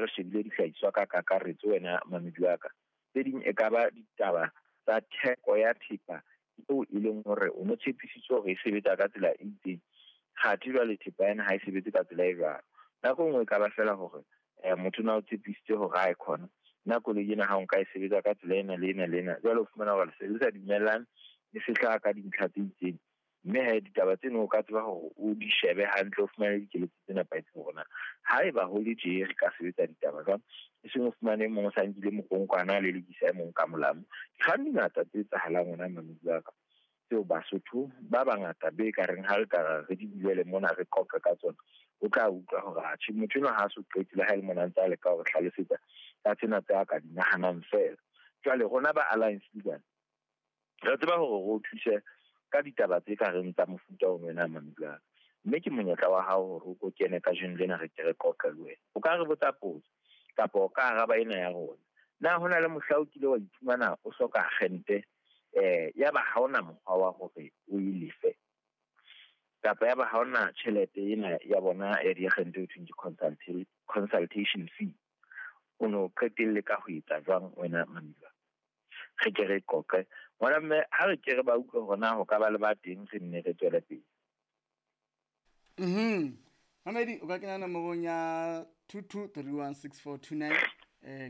re shebile dihlahiswa ka kakaretso wena mamedi wa ka. Tse ding e ka ba ditaba tsa theko ya thepa eo e leng hore o no tshepisitswe hore e sebetsa ka tsela e itseng, kgathe jwale thepa ena ha e sebetse ka tsela e jwalo. Nako e nngwe e ka ba feela hore motho na o tshepisitse hore ha e khona nna koloi ena ha o nka e sebetsa ka tsela ena le ena le ena, jwale o fumana hore le se le sa dumellane, le se hlaha ka dintlha tse itseng. Mme he ditaba tseno o ka tseba hore o di shebe hantle, o fumane dikeletso tse nepahetseng hore na haeba ho le tje re ka sebetsa ditaba jwang, e seng o fumane e mong o sa nkile mokonkwana a lelekisa e mong ka molamu. Dikgang di ngata tse etsahalang hona mamedi wa ka, tseo Basotho ba bangata be ka reng ha re ka re di bulele mona re qoqe ka tsona, o tla utlwa hore atjhe motho enwa ha a so qete le ha e le mona ntse a leka hore hlalosetsa ka tsena tse a ka di nahanang feela. Jwale rona ba Alliance Legal re tseba hore re o thuse ka ditaba tse ka reng tsa mofuta o wena mamedi wa ka, mme ke monyetla wa hao hore o ko kene kajeno lena re ke re qoqe le wena. O ka re botsa potso kapa o ka araba ena ya rona. Na ho na le mohla o kile wa iphumana o hloka agente ya ba ha ona mokgwa wa hore o e lefe, kapa ya ba ha ona tjhelete ena ya bona ya diagente ho thweng ke consultation fee, o no qetelle ka ho etsa jwang wena mamedi wa ka? Re ke re qoqe ngwana mme, ha re ke re ba utlwe hore na ho ka ba le ba teng, re nne re tswele pele. Mamedi, o ka kena nomorong ya 22316429,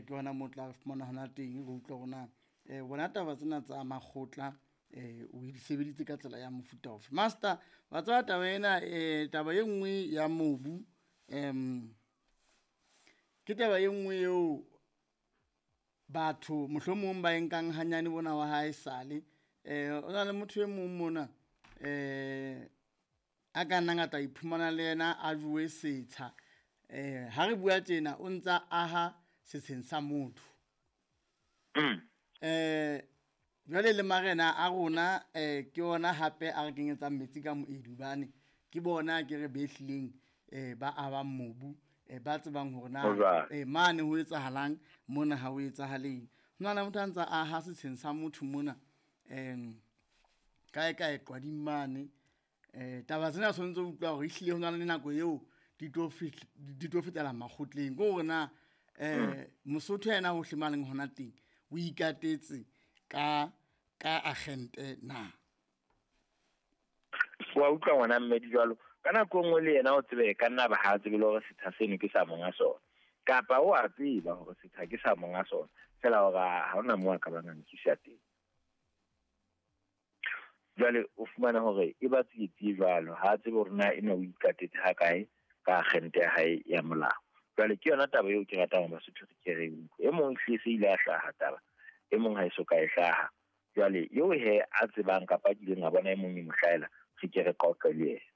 ke hona moo o tla fumana hona teng, re utlwe hore na bona taba tsena tsa makgotla o di sebeditse ka tsela ya mofuta ofe. Master, wa tseba taba ena, taba e nngwe ya mobu, ke taba e nngwe eo batho mohlomong ba e nkang hanyane bona wa hae sale. O na le motho e mong mona, a ka nnang a tla iphumana le yena a jowe setsha. Ha re bua tjena o ntsa aha setsheng sa motho. Jwale le marena a rona, ke ona hape a re kenyetsang metsi ka moedi, hobane ke bona ke re behlileng, ba abang mobu, ba tsebang hore na mane ho etsahalang, mona ha ho etsahaleng. Ho na le motho a ntsa aha setsheng sa motho mona, kae kae Qwading mane. Taba tsena tshwanetse ho utlwa hore ehlile ho na le nako eo di tlo fetela makgotleng. Ke hore na Mosotho yena hohle mo a leng hona teng o ikatetse ka agente na? Wa utlwa ngwana mme di jwalo. Ka nako e nngwe le yena o tsebe ka nna ba ha tsebe le hore setha seno ke sa monga sona, kapa o a tseba hore setha ke sa monga sona, fela hore ha hona moo a ka bang a nkisa teng. Jwale o fumana hore e ba tsietsi jwalo, ha a tsebe hore na ena o ikatetse ha kae ka agente ya hae ya molao. Jwale ke yona taba eo ke ratang hore Basotho re ke re utlwe. E mong ehlile se ile a hlaha taba, e mong ha e so ka e hlaha. Jwale eo he a tsebang kapa a kileng a bona e mong e mo hlahela, re ke re qoqe le yena.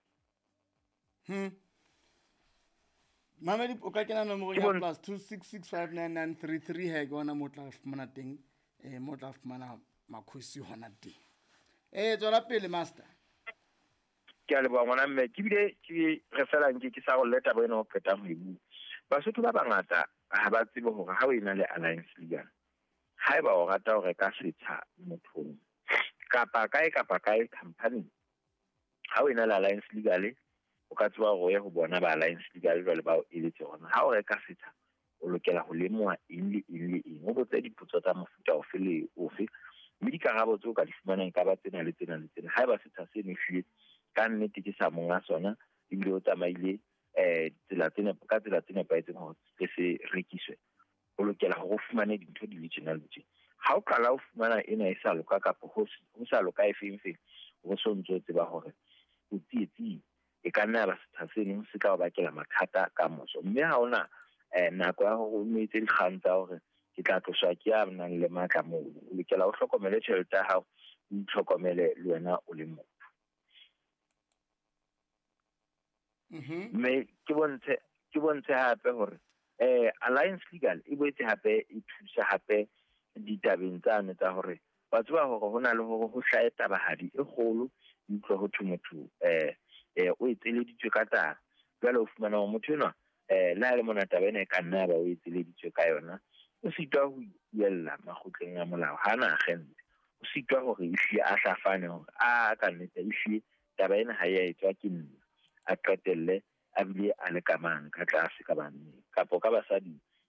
Mamedi, o ka kena nomorong ya plus 26659933, he ke hona moo o tla fumana teng, moo o tla fumana makhosi hona teng. Tswela pele master. Ke a leboha ngwana mme, ke bile ke re fela nke ke sa rolle taba ena ho qetang ho e bua. Basotho ba bangata ha ba tsebe hore ha o ena le Alliance Legal, haeba o rata ho reka setsha mothong kapa kae kapa kae company, ha o ena le Alliance Legal o ka tseba hore o ye ho bona ba Alliance Legal jwale ba o eletse hore ha o reka setsha o lokela ho lemoha eng le eng le eng, o botse dipotso tsa mofuta ofe le ofe, mme dikarabo tseo ka di fumanang ka ba tsena le tsena le tsena. Haeba setsha seno ehlile ka nnete ke sa monga sona, ebile o tsamaile tsela tsena ka tsela tse nepahetseng hore se se rekiswe, o lokela hore o fumane dintho di le tjena le tjena. Ha o qala o fumana ena e sa loka kapa ho sa loka e feng feng, o so ntso tseba hore o tsietsing, e ka nna ya ba setsha seno se tla o bakela mathata ka moso. Mme ha ona nako ya hore o no etse dikgang tsa hore ke tla tloswa ke ya nang le matla moo, o lokela o hlokomele tjhelete ya hao, o itlhokomele le wena o le motho. Mme ke bontshe hape hore Alliance Legal e boetse hape e thusa hape ditabeng tsane tsa hore wa tseba hore ho na le hore ho hlahe tabahadi e kgolo, utlwe ho thwe motho o etseleditswe ka taba. Jwale o fumana hore motho enwa le ha le mona taba ena e ka nna ya ba o etseleditswe ka yona, o sitwa ho ipuella makgotleng a molao, ha na agente, o sitwa hore ehlile a hlafane hore a ka nnete ehlile taba ena ha e a etswa ke nna, a qetelle a bile a le ka mang ka tlase ka banneng kapa ka basading.